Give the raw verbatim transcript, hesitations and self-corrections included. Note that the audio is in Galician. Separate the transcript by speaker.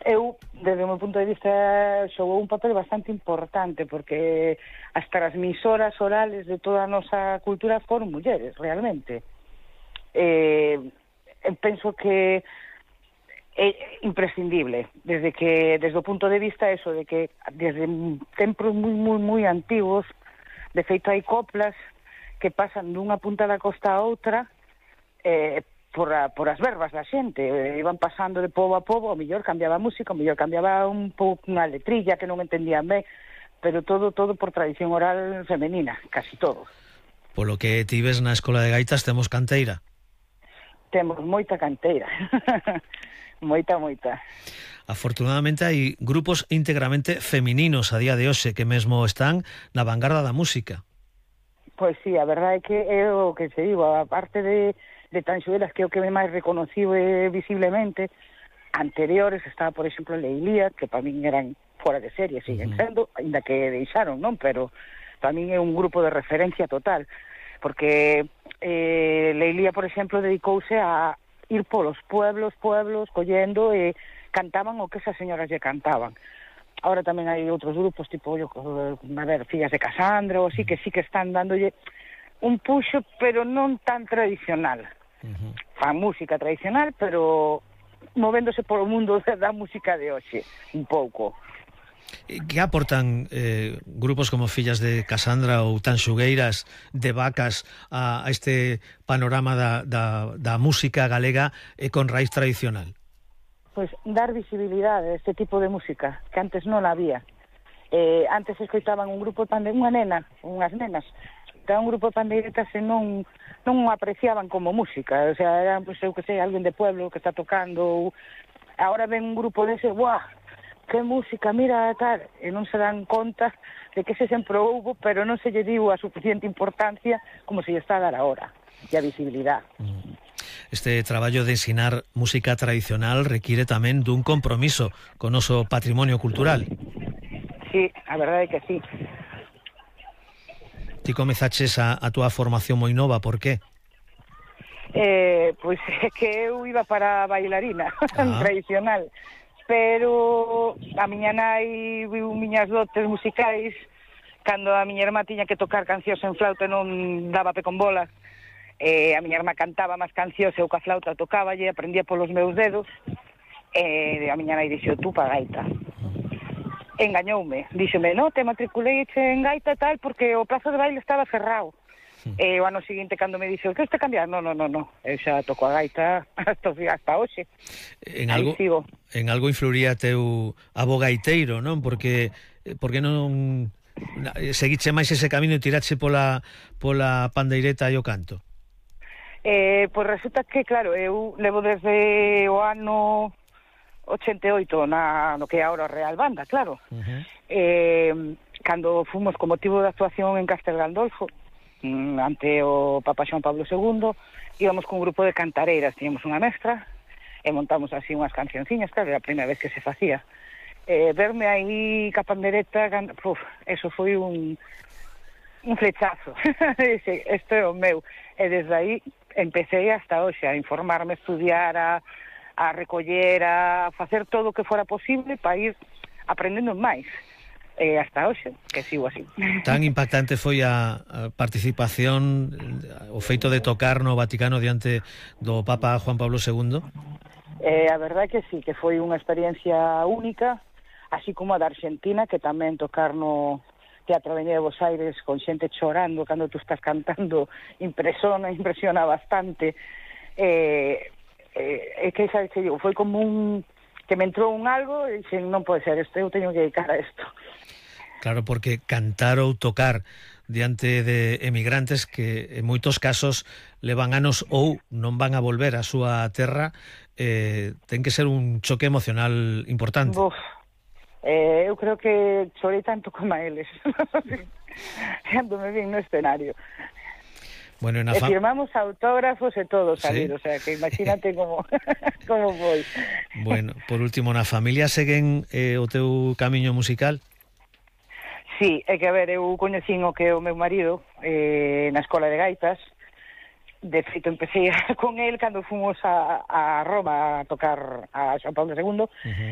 Speaker 1: Eu, desde o meu punto de vista, xogou un papel bastante importante, porque as transmisoras orales de toda a nosa cultura foron mulleres, realmente. Eh, penso que é imprescindible, desde que desde o punto de vista eso, de que desde tempos moi, moi, moi antigos, de feito hai coplas que pasan dunha punta da costa a outra, eh, por, a, por as verbas da xente, eh, iban pasando de pobo a pobo, o mellor cambiaba a música, o mellor cambiaba un pouco unha letrilla que non entendían ben, pero todo todo por tradición oral femenina, casi todo.
Speaker 2: Polo que ti ves na Escola de Gaitas temos canteira.
Speaker 1: Temos moita canteira. moita, moita.
Speaker 2: Afortunadamente hai grupos íntegramente femininos a día de hoxe que mesmo están na vanguarda da música.
Speaker 1: Pois sí, a verdade é que é o que se digo, a parte de de Tanxuelas, que é o que me máis reconocible visiblemente, anteriores estaba, por exemplo, Leilía, que para min eran fora de serie, siguen uh -huh. sendo, ainda que deixaron, non? Pero para min é un grupo de referencia total, porque eh, Leilía, por exemplo, dedicouse a ir polos pueblos, pueblos, collendo e cantaban o que esas señoras lle cantaban. Ahora tamén hai outros grupos, tipo, yo, a ver, Fillas de Casandra, ou así, que sí que están dándolle un puxo, pero non tan tradicional. Uh-huh. Fan música tradicional, pero movéndose polo mundo da música de hoxe, un pouco.
Speaker 2: Que aportan eh, grupos como Fillas de Casandra ou Tanxugueiras de Vacas a, a este panorama da, da, da música galega e con raíz tradicional?
Speaker 1: Pois dar visibilidade a este tipo de música, que antes non había. Eh, antes escoitaban un grupo de pandeiretas, unha nena, unhas nenas, un grupo de pandeiretas e non non apreciaban como música, o sea, eran, pues, eu que sei, alguén de pueblo que está tocando, ahora ven un grupo dese, ¡buah!, que música, mira, tal, e non se dan conta de que ese sempre houbo, pero non se lle diu a suficiente importancia como se lle está a dar ahora, e a visibilidade.
Speaker 2: Este traballo de ensinar música tradicional requiere tamén dun compromiso con o noso patrimonio cultural.
Speaker 1: Sí, a verdade é que sí.
Speaker 2: Ti comezaches a, a túa formación moi nova, por que?
Speaker 1: Eh, pois é que eu iba para bailarina ah. tradicional, pero a miña nai viu miñas dotes musicais cando a miña irmá tiña que tocar cancións en flauta e non daba pe con bola. Eh, a miña irmá cantaba máis cancións e eu ca flauta tocaba e aprendía polos meus dedos, e a miña nai dixo, tú pa gaita. Engañoume, díxeme, no, te matriculei en gaita tal porque o plazo de baile estaba cerrado. Sí. E o ano seguinte cando me dixo, que este cambiar? No, no, no, no, eu xa toco a gaita hasta, hasta hoxe.
Speaker 2: En algo, en algo influiría teu abo gaiteiro, non? Porque porque non seguiche máis ese camiño e tirache pola, pola pandeireta e o canto?
Speaker 1: Eh, pois resulta que, claro, eu levo desde o ano ochenta e oito na, no que é ahora Real Banda, claro. Uh-huh. eh, cando fomos con motivo de actuación en Castel Gandolfo, ante o Papa Xoán Pablo segundo, íbamos con un grupo de cantareiras, tiñamos unha mestra, e montamos así unhas cancionciñas, claro, era a primeira vez que se facía. Eh, verme aí ca pandereta, uf, eso foi un, un flechazo. Dice, isto é o meu. E desde aí empecé hasta hoxe a informarme, a estudiar, a a recoller, a facer todo o que fora posible para ir aprendendo máis. E hasta hoxe, que sigo así.
Speaker 2: Tan impactante foi a, a participación, o feito de tocar no Vaticano diante do Papa Juan Pablo segundo?
Speaker 1: Eh, a verdade que sí, que foi unha experiencia única, así como a da Argentina, que tamén tocar no Teatro Avenida de Buenos Aires con xente chorando cando tú estás cantando, impresiona, impresiona bastante. Eh... É eh, que, sabes, que digo, foi como un que me entrou un algo e dixen, non pode ser isto, eu teño que dedicar a isto.
Speaker 2: Claro, porque cantar ou tocar diante de emigrantes que en moitos casos levan anos ou non van a volver á súa terra, eh, ten que ser un choque emocional importante.
Speaker 1: Uf, eh, eu creo que chorei tanto como a eles cando me vin no escenario. Bueno, e firmamos autógrafos e todo salir, ¿sí? O sea, que imagínate como como foi.
Speaker 2: Bueno, por último, na familia seguen eh, o teu camiño musical?
Speaker 1: Sí, é que a ver, eu coñecín o que o meu marido eh, na escola de gaitas. De feito, empecé con el cando fomos a, a Roma a tocar a Xoán Pablo segundo. Uh-huh.